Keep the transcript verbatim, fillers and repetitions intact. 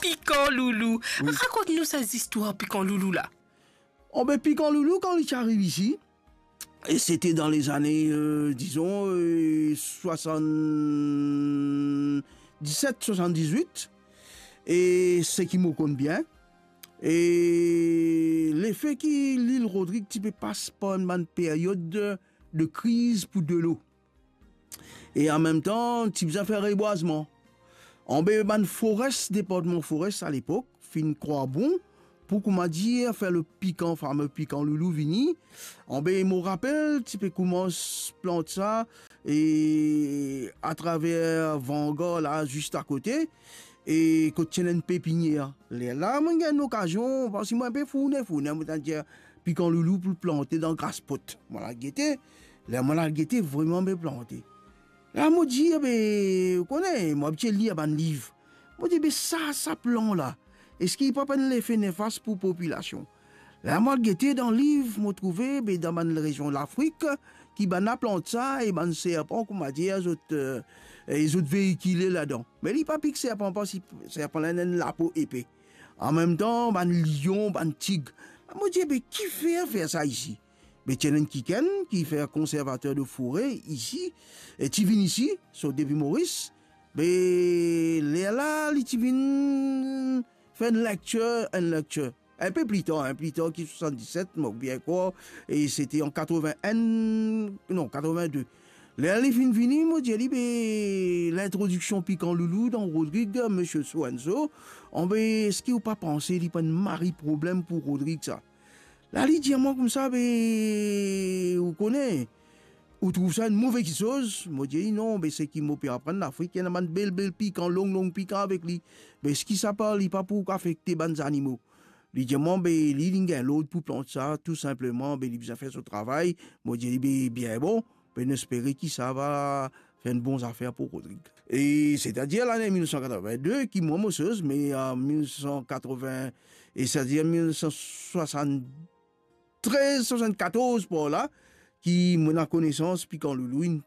Pikan Loulou. Wi. Rakont nou sa zistwar Pikan Loulou la. Oh, be, Pikan Loulou, kan li ti ariv isi, e sete dan lezane, euh, dizon, euh, swasann-diset, swasann-dizwit, e seki mo konn bien, e lefe ki lil Rodrig ti pe pas par enn bann peryod de, de kriz pou delo. E anmemtan, ti bizin fer rebwazman. Anbe bann forès, departman forès alepok, finn krwar bon pou, kouma dir, fer le pikan, fame Pikan Loulou vini. Anbe mo rapel, ti pe koumans plant sa, e atraver Vangar la, zis akote, e kot ti ena enn pepinier. Lerla, mo gagn lokazion, parski mo enn pe fourne, fourne, mo tann dir Pikan Loulou pou plante dan gras pot. Mo al gete, ler mo al gete, vreman be plante. La mo dir, be, ou kone, mo abitie lir bann liv. Mo dir, be sa, sa plan la, eski li pa pou enn lefe nefas pou popilasion? La mo al gete dan liv, mo trouve, be, dan bann rezion Lafrik, ki bann la plant sa, e bann serpan, kouma dir, zot, euh, e zot veikile ladan. Me li pa pik serpan, parski serpan la ena enn lapo epe. Anmemtan, bann lion, bann tig. Mo dir, be, kifer fer sa isi? Be, ti ena enn kikenn ki fer konservater de fore isi, e ti vinn isi, sot depi Moris. Be, lerla, li ti vinn fer enn lektir, enn lektir. Enn pe pli tar, enn pli tar ki swasann-diset, mo bien krwar, e sete an katreven-enn, non, katreven-de. Ler li finn vini, mo dir li, be, lintrodiksion Pikan Loulou dan Rodrig, misie so and so, anbe, eski ou pa panse li pou enn mari problem pou Rodrig sa? La, li dir mwa koumsa, be, ou kone, ou trouv sa enn move kiksoz? Mo dir li, non, be, seki mo pe aprann Lafrik, ena bann bel, bel pikan, long, long pikan avek li. Be, eski sa pa, li pa pou afekte bann zanimo? Li dir mwa, be, li, li gagn lord pou plant sa, tou sinpleman, be, li bizin fer so travay. Mo dir li, be, bien bon, be, nou espere ki sa va fer enn bon zafer pou Rodrig. E setadir lane mil nef san katreven-de, ki mwa mo soz, me an mil nef san katreven, e setadir mil nef san swasann-, trez, swasann-katorz par la, ki mo ena konesans Pikan Loulou inn